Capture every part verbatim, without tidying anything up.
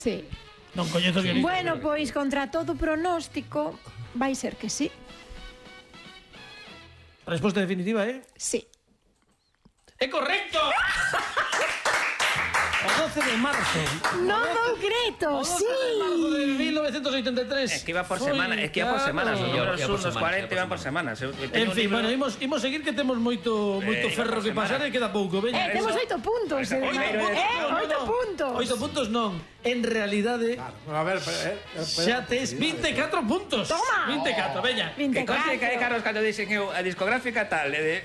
Sí. Non coñezo o guionista. Bueno, pois contra todo pronóstico vai ser que sí. Resposta definitiva, eh? Sí. ¡É correcto! O doce de marzo. Non dou creto, sí. O doce de marzo de mil novecientos oitenta e tres. Es que iba por semana, es que iba por semanas, os números unos cuarenta iban por semanas. En fin, bueno, imos imos seguir que temos moito moito ferro que pasar e queda pouco, veña. Eh, temos oito puntos. Eh, oito puntos. Oito puntos non. En realidade, A ver, xa tes vinte e catro puntos. Toma. vinte e catro, veña. Que conste que hai Carlos cando dixen eu a discográfica tal, e de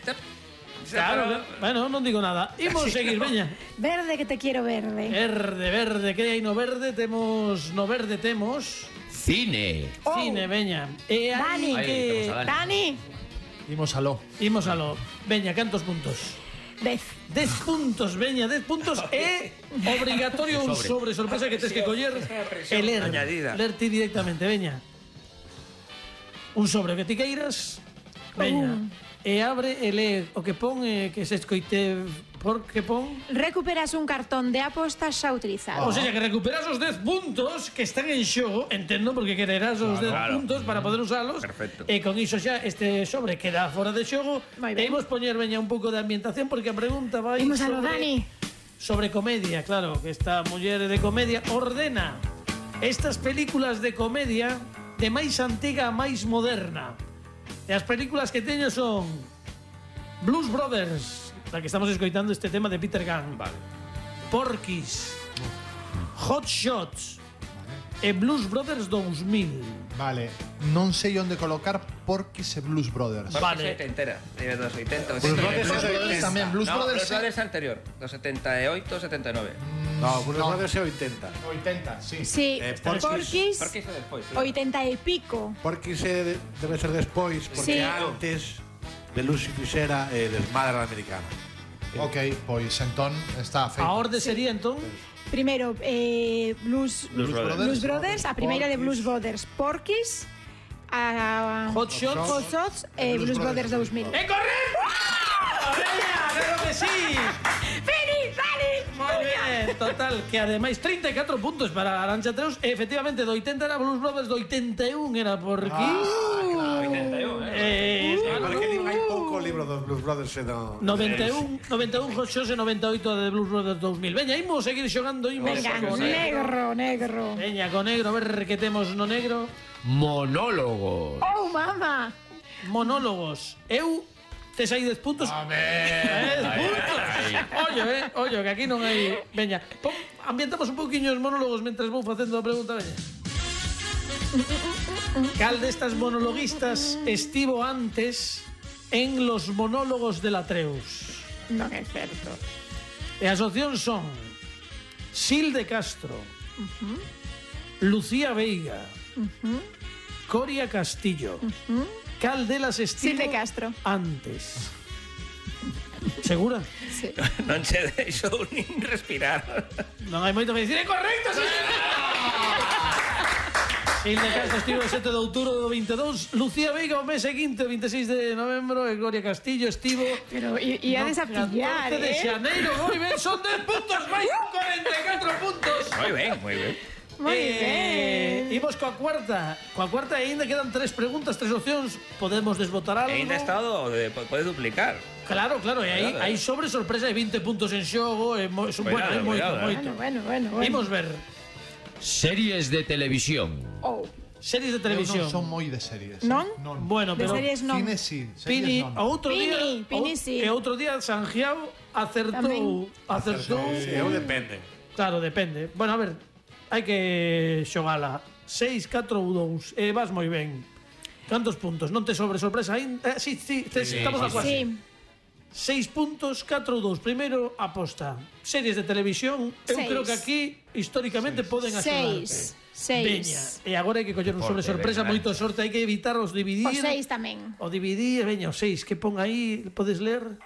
Claro, bueno, non digo nada. Imos seguir, veña. Verde que te quiero verde. Verde, verde, que hai no verde? Temos, no verde temos Cine. cine, veña. E Dani. hai que Dani. Imos aló. imos aló. Veña, cantos puntos? Dez. dez puntos, veña, dez puntos é obrigatorio un sobre sorpresa que tes que coller e ler. añadida. Ler ti directamente, veña. Un sobre que ti queiras, veña. E abre e lee o que pon e que se escoite por que pon. Recuperas un cartón de apostas xa utilizado. O sea, que recuperas os dez puntos que están en xogo, entendo, porque quererás os dez claro. puntos para poder usalos. Perfecto. E con iso xa este sobre queda fora de xogo. Moi E ben. imos poñer, veña, un pouco de ambientación, porque a pregunta vai Imos a lo sobre- Dani. sobre comedia, claro, que esta muller de comedia ordena estas películas de comedia de máis antiga a máis moderna. E as películas que teño son Blues Brothers, la que estamos escoitando este tema de Peter Gunn. Vale. Porky's, Hot Shots e Blues Brothers dos mil. Vale, non sei onde colocar Porky's e Blues Brothers. Vale. Vale. entera, de dos oitenta. Blues Brothers Blues Brothers tamén, Blues No, Brothers Blues Brothers anterior, dos setenta e oito, setenta e nove. No, Blues Brothers é oitenta. oitenta, sí. Sí, Eh, Porky's, Por que iso despois? oitenta e pico. Porque se debe ser despois, porque Sí. antes de Lucy fixera eh, Desmadre a la Americana. Ok, pois entón está feito. A orde sería, entón, Primeiro, eh, Blues, Blues Brothers. Blues Brothers, a primeira de Blues Porky's. Brothers, Porky's, a Hot Shots. Hot Shots e Blues Blues Brothers Brothers dos mil. ¡É correcto! ¡Veña, claro que sí! ¡Feliz, feliz! Moi ben, total, que ademais trinta e catro puntos para Arantxa Treus. E efectivamente, do oitenta era Blues Brothers, do oitenta e un era Porky's. oitenta e un, eh? Eh, claro, Porque din hai pouco libro dos Blues Brothers e do... noventa e un, noventa e un Hot Shots e noventa e oito de Blues Brothers dos mil. Veña, imos seguir xogando, imos Venga, con negro, negro. Veña, con negro, a ver que temos no negro. Monólogos. Oh, mama. Monólogos. Eu tes aí dez puntos. dez puntos. Ollo, eh, ollo, que aquí non hai. Veña, pon, ambientamos un pouquiño os monólogos mentres vou facendo a pregunta, veña. Cal destas monologuistas estivo antes en los monólogos de la Treus? Non é certo. E as opcións son Sil de Castro, Lucía Veiga, Coria Castillo. Cal delas estivo Sil de Castro. antes? Segura? Sí. Non se deixou nin respirar. Non hai moito que dicir. É correcto, sí, Sil de Castro estivo o sete de outubro do vinte e dous. Lucía Veiga o mes seguinte, o vinte e seis de novembro. E Gloria Castillo estivo Pero i- iades a pillar, catorce de eh? xaneiro. Moi ben, son dez puntos, máis cuarenta e catro puntos. Moi ben, moi ben. Moi ben. Imos coa cuarta. Coa cuarta e ainda quedan tres preguntas, tres opcións. Podemos desbotar algo. E ainda estado de, pode duplicar. Claro, claro, e aí Cuidado, hai sobre sorpresa e vinte puntos en xogo, e mo, son, bueno, Cuidado, é moito, cuidado, eh. moito. Bueno, bueno, bueno. Imos ver Series de televisión. Oh. series de Eu televisión. non son moi de series. Non? Non. Bueno, De pero series non. Cine sí, Pini, series o non. outro Pini, día, Pini o- sí. e outro día Sanjiao acertou, acertou. Sí, eu depende. Claro, depende. Bueno, a ver, hai que xogala. seis, catro ou dous. E vas moi ben. Cantos puntos? Non te sobre sorpresa aínda? Eh, sí, sí, te, Sí, estamos a sí, cuasi. Sí. Seis puntos, catro ou dous. Primeiro, aposta. Series de televisión, eu Seis. creo que aquí, históricamente, poden axudarte. Seis. Seis. Veña, e agora hai que coller un sobre Forte, sorpresa, venga, moito sorte, hai que evitar os dividir. O seis tamén. O dividir, veña, o seis, que pon aí, podes ler?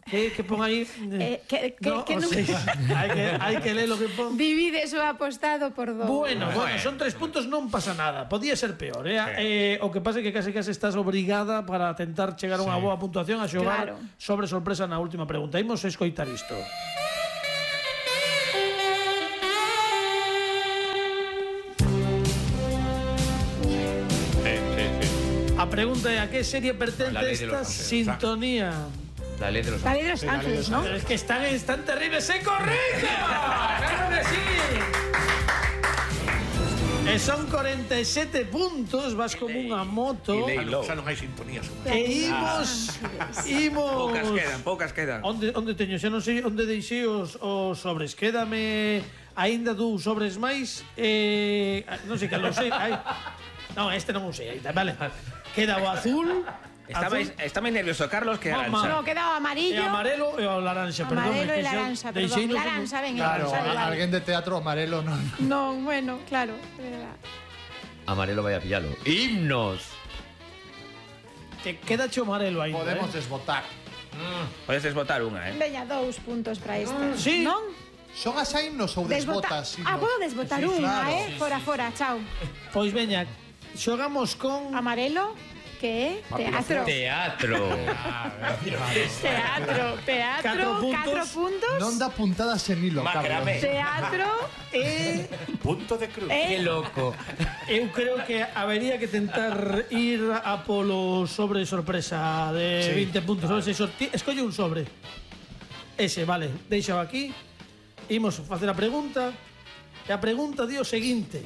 Que, que pon aí? Eh, que- que- no, que o non- seis. hai, que, hai que ler o que pon. Divides o apostado por dos. Bueno, bueno, son tres puntos, non pasa nada. Podía ser peor, eh? eh o que pasa é que case case estás obrigada para tentar chegar a unha boa puntuación a xogar Claro. sobre sorpresa na última pregunta. Imos escoitar isto. Pregunta é a que serie pertence La ley de esta los ángeles. sintonía. La ley de los La ley de los ángeles, ¿no? Pero es que están, están terribles. ¡Se correcto! ¡Claro que sí! E son cuarenta y siete puntos, vas como unha moto. E leilo. Xa non hai sintonía. E imos, imos... Poucas quedan, poucas quedan. Onde, onde teño? Xa non sei onde deixei os, os sobres. Quédame aínda dous sobres máis. Eh, non sei, que non sei. Ai. Non, este non o sei. Vale. Queda o azul. Está azul, máis, está máis nervioso Carlos que Mamá. Arancha. No, queda o e amarillo. amarelo e o laranxa, perdón. Amarelo é e que xa laranxa, perdón. deixeino- Laranxa, ven, Claro, laranxa, vale. alguén de teatro amarelo non. No, bueno, claro. de verdad. Amarelo vaya a pillarlo. ¡Himnos! Te queda cho amarelo aí. Podemos eh? desbotar. Podes desbotar unha, eh? Veña, dous puntos para esta. Sí. Non? Son as himnos ou Desbota... desbotas? Ah, puedo desbotar Sí, unha, claro. eh? Fora, fora, chao. Pois veña, xogamos con... Amarelo, que é? Teatro. Teatro. Teatro, teatro, Catro puntos. catro puntos. Non dá puntadas en hilo, Macramé. Carlos. Teatro E Punto de cruz. ¡Qué e... loco! eu creo que habería que tentar ir a polo sobre sorpresa de Sí. veinte puntos. Sobre ese sorti... Escolle un sobre. Ese, vale, deixao aquí. Imos facer a pregunta. E a pregunta di o seguinte: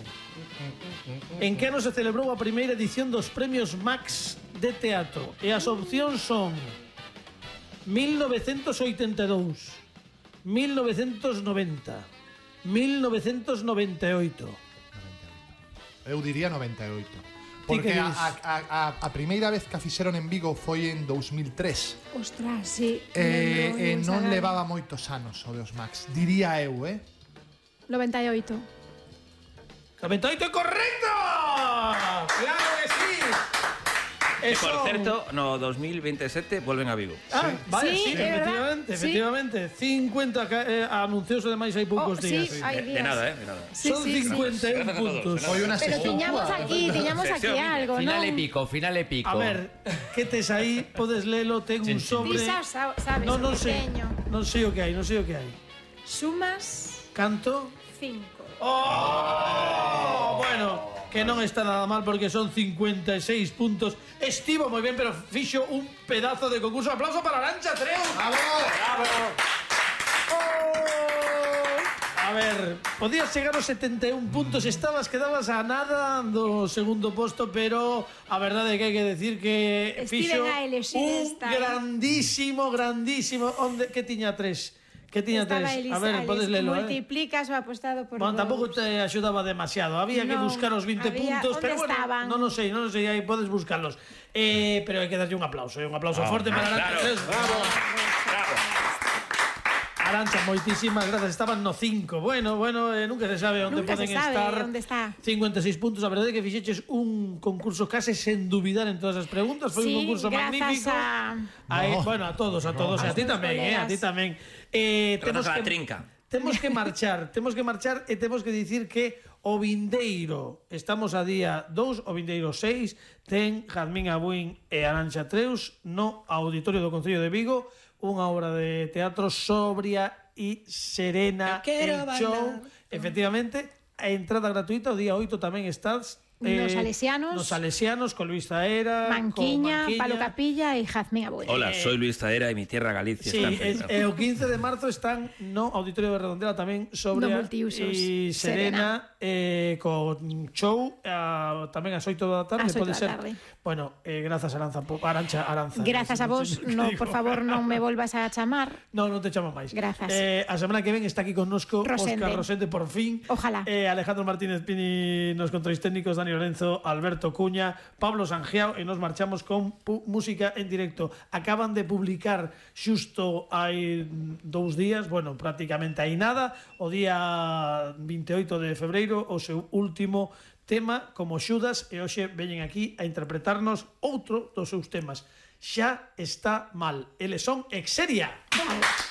en que ano se celebrou a primeira edición dos Premios Max de Teatro? E as opcións son mil novecentos oitenta e dous, mil novecentos noventa, mil novecentos noventa e oito. Eu diría noventa e oito. Ti que Porque a, dis? a, a, a primeira vez que a fixeron en Vigo foi en dous mil tres. Ostras, sí. E, lembro, e lembro, non sabe. levaba moitos anos o dos Max. Diría eu, eh? noventa e oito. noventa e oito é correcto! ¡Claro que sí! Que, Eso... por certo, no dos mil veintisiete volven a Vigo. Ah, vale, sí, Sí, é verdad. efectivamente, Sí. efectivamente. cincuenta ca- eh, anuncios ademais hai poucos Oh, sí, días. hai De, de días. nada, eh? De nada. Sí, Son sí, sí. cincuenta y un Gracias a todos, puntos. de Foi unha Pero sesión tiñamos túa. aquí, tiñamos aquí Sección. algo, Final non? épico, final épico. A ver, que tes aí? Podes lelo, ten un Sí, sí. sobre. Ti xa sa- sabes Non, non o que sei. teño. Non sei o que hai, non sei o que hai. Sumas Canto? cinco. Oh, bueno, que non está nada mal porque son cincuenta e seis puntos. Estivo moi ben, pero fixo un pedazo de concurso. Aplauso para Arancha Treu. Bravo! A ver, podías chegar aos setenta e un puntos, estabas, quedabas a nada do segundo posto, pero a verdade é que hai que decir que Estiven fixo a elexir un esta, eh. grandísimo, grandísimo, onde que tiña tres? Que tiña Estaba tres? Elis- A ver, Elis, podes lelo, eh? multiplicas o apostado por Bueno, dous. tampouco te axudaba demasiado. Había que Non, buscar os vinte había- puntos, onde pero bueno, estaban? non o sei, non o sei, aí podes buscarlos. Eh, pero hai que darlle un aplauso, eh, un aplauso forte para Arancha. claro. Tres. Arancha, moitísimas grazas. Estaban no cinco. Bueno, bueno, eh, nunca se sabe onde Nunca poden se sabe estar. onde está. cincuenta e seis puntos. A verdade é que fixeches un concurso case sen dubidar en todas as preguntas. Foi un Sí, concurso grazas magnífico. a- Aí, No. bueno, a todos, a todos, e a ti Aos tamén, eh, a ti colegas. tamén. Eh, Grazas a la trinca. Temos que marchar, temos que marchar e temos que dicir que o vindeiro, estamos a día dous, o vindeiro seis, ten Jazmín Abuín e Arancha Treus no Auditorio do Concello de Vigo, unha obra de teatro sobria e serena, el show, efectivamente, a entrada gratuita, o día oito tamén estás Nos Salesianos. Nos Salesianos, con Luis Taera, Manquiña, con Manquiña. Palo Capilla e Jazmín Abuelo. Hola, soy Luis Taera y mi tierra Galicia Sí, está en es, peligro. e o quince de marzo están no Auditorio de Redondela tamén sobre No multiusos. e Serena, eh, con show a, tamén ás oito da tarde, Ás oito pode da ser. tarde. Bueno, eh, grazas Aranza, po- Arancha, Aranza. Grazas a vos, no, por favor, non me volvas a chamar. No, non te chamo máis. Grazas. Eh, a semana que ven está aquí connosco Rosende. Óscar Rosende por fin. Ojalá. Eh, Alejandro Martínez Pini nos controis técnicos, Dani Lorenzo, Alberto Cuña, Pablo Sangiao e nos marchamos con pu- música en directo. Acaban de publicar xusto hai dous días, bueno, prácticamente hai nada, o día veintioito de febreiro, o seu último tema como Xudas, e hoxe veñen aquí a interpretarnos outro dos seus temas. Xa está mal. Eles son Exeria. Vale.